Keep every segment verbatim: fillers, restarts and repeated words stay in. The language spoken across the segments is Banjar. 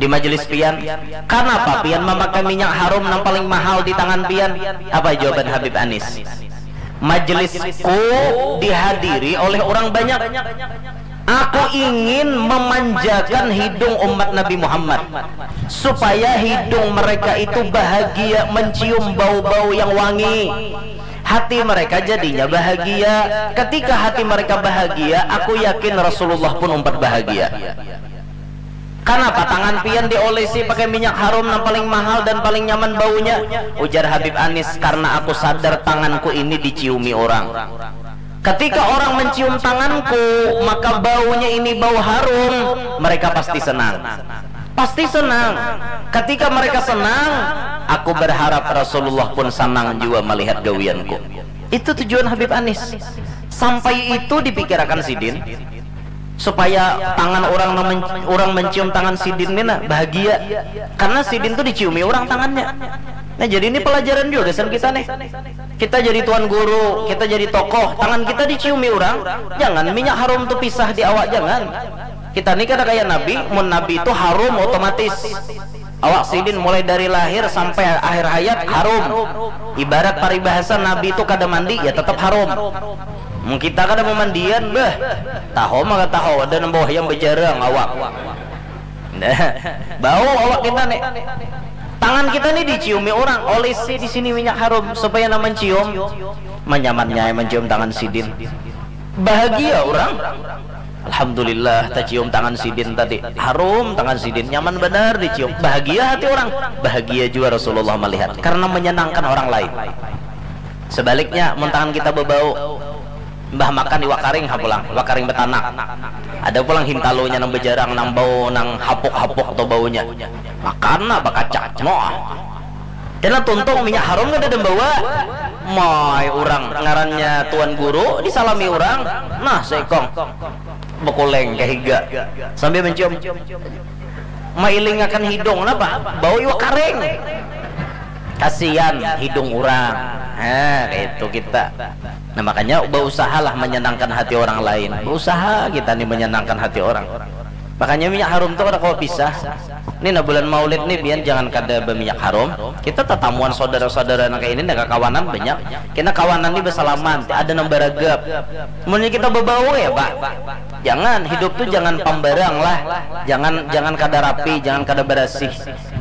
di majelis pian, kanapa pian mamakai minyak harum nang paling mahal di tangan pian? Apa jawaban Habib Anis? Majelisku dihadiri oleh orang banyak. Aku ingin memanjakan hidung umat Nabi Muhammad supaya hidung mereka itu bahagia mencium bau-bau yang wangi. Hati mereka jadinya bahagia. Ketika hati mereka bahagia, aku yakin Rasulullah pun umpat bahagia. Kanapa tangan pian diolesi pakai minyak harum nang paling mahal dan paling nyaman baunya? Ujar Habib Anis, karena aku sadar tanganku ini diciumi orang. Ketika orang mencium tanganku, maka baunya ini bau harum, mereka pasti senang. Pasti senang. Ketika mereka senang, aku berharap Rasulullah pun senang juga melihat gawianku. Itu tujuan Habib Anis. Sampai itu dipikirakan sidin, supaya tangan orang nang men- orang mencium tangan sidin ni nah bahagia. Karena sidin tuh diciumi orang tangannya. Nah, jadi ini pelajaran juga gasan kita nih. Kita jadi tuan guru, kita jadi tokoh, tangan kita diciumi orang, jangan minyak harum tuh pisah di awak, jangan. Kita ni kada kaya Nabi, mun Nabi tu harum otomatis. Awak sidin mulai dari lahir sampai akhir hayat harum. Ibarat paribahasa Nabi tu kada mandi, ya tetap harum. Mun kita kada mamandian, bah, tahu maka tahu ada nang bawah yang bejarang awak. Nah, bau awak kita nih. Tangan kita nih diciumi orang, olesi di sini minyak harum supaya nang mencium, manyamannya mencium tangan sidin. Bahagia orang. Alhamdulillah, tacium tangan sidin tadi. Harum tangan sidin, nyaman benar dicium. Bahagia hati orang. Bahagia juga Rasulullah melihat karena menyenangkan orang lain. Sebaliknya, mun tangan kita bebau, mbah makan iwak karing ha pulang, iwak karing betanak. Ada pulang hintalunya nang bejarang, nang bau, nang hapuk-hapuk tu baunya. Makan nah bakacak, noh. Kena tuntung minyak harum kada dembawa. Mai orang ngarannya tuan guru disalami orang. Nah, seikong bekuleng ke higa sambil mencium. Mailingakan hidung napa? Bau iwak karing. Kasihan hidung orang. Nah, itu kita. Nah, makanya beusahalah menyenangkan hati orang lain. Beusaha kita nih menyenangkan hati orang. Makanya minyak harum tuh kada kawa pisah. Ini nah bulan Maulid nih, biar jangan kada berminyak harum. Kita tatamuan saudara-saudara nang kayak ini, nah kakawanan banyak. Kena kawanan nih bersalaman, ada nang beragap. Mungkin kita berbau ya, Pak. Jangan, hidup tuh jangan pambarang lah. Jangan jangan kada rapi, jangan kada berasih.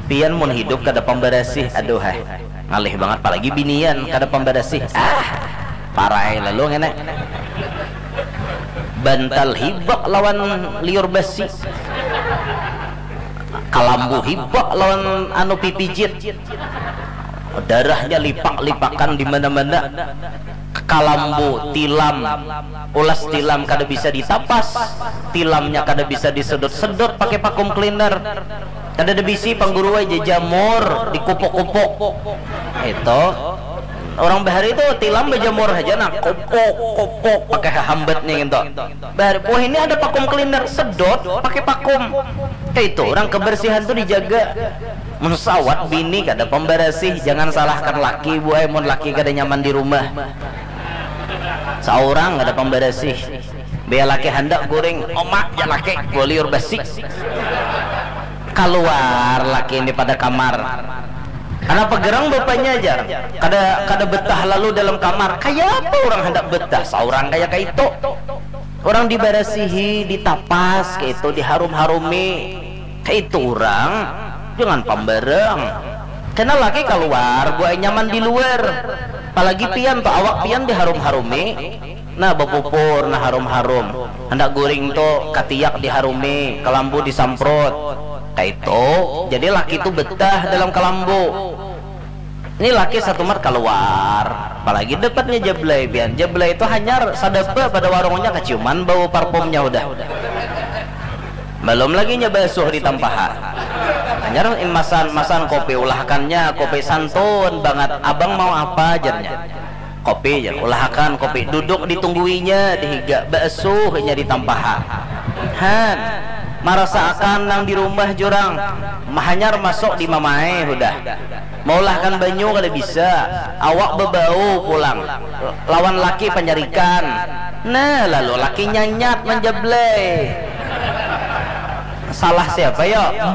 Pian mun hidup kada pambarasih, aduh heh. Ngalih banget, apalagi binian kada pambarasih. Ah, parai lalu ngene. Bantal hibak lawan liur basi. Kalambu hibak lawan anu pipijit. Darahnya lipak-lipakan di mana-mana. Kalambu, tilam, ulas tilam kada bisa ditapas, tilamnya kada bisa disedot-sedot pakai vacuum cleaner. Kada ada bisi pangguru aja jamur dikupuk-kupuk. Itu orang bahari itu tilam bejamur aja nah kupuk kupuk pakai hambat nih gitu. Bahari, wah, ini ada vacuum cleaner, sedot pakai vacuum. Kayak itu orang kebersihan tuh dijaga. Mun sawat bini kada pembersih, jangan salahkan laki, buai, mun laki kada nyaman di rumah. Seorang kada pembersih. Biar laki hendak goreng, omak ya laki, gua liur basi. Keluar laki ini pada kamar. Kenapa gerang bapaknya aja? Kada kada betah lalu dalam kamar. Kayak apa orang hendak betah? Seorang kayak kayak itu. Orang dibarasihi, ditapas, kayak itu, diharum-harumi. Kayak itu orang, jangan pambarang. Karena laki keluar, buai nyaman di luar. Apalagi pian tuh, awak pian diharum-harumi. Nah, bepupur, nah, harum-harum. Hendak guring tuh, katiak diharumi, kelambu disamprot. Kayak itu. Jadi laki tuh betah dalam kelambu. Ini laki satu mat keluar, apalagi dapatnya jablay pian. Jablay itu hanyar sadapa pada warungnya keciuman bau parfumnya udah. Belum lagi nya basuh di tampaha. Hanyar masan masan kopi ulahakannya, kopi santun banget. Abang mau apa, jarnya. Kopi, jar, ulahakan kopi. Duduk ditungguinya di higa, basuh inya di tampaha. Han, marasa akan nang di rumah jurang. Hanyar masuk di mamae udah. Maulahkan banyu kada bisa, awak bebau pulang. Lawan laki panyarikan. Nah, lalu laki nyanyat manjablay. Salah siapa ya?